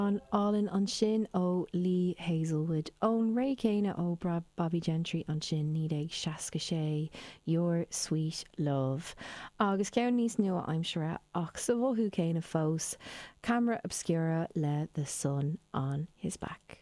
Amhrán álainn ansin ó Lee Hazlewood. Ón ré céanna ó Bobbie Gentry ansin, 1966, Your Sweet Love. Agus ceann níos nua-aimseartha ach sa mhothú céanna fós, Camera Obscura le The Sun On His Back.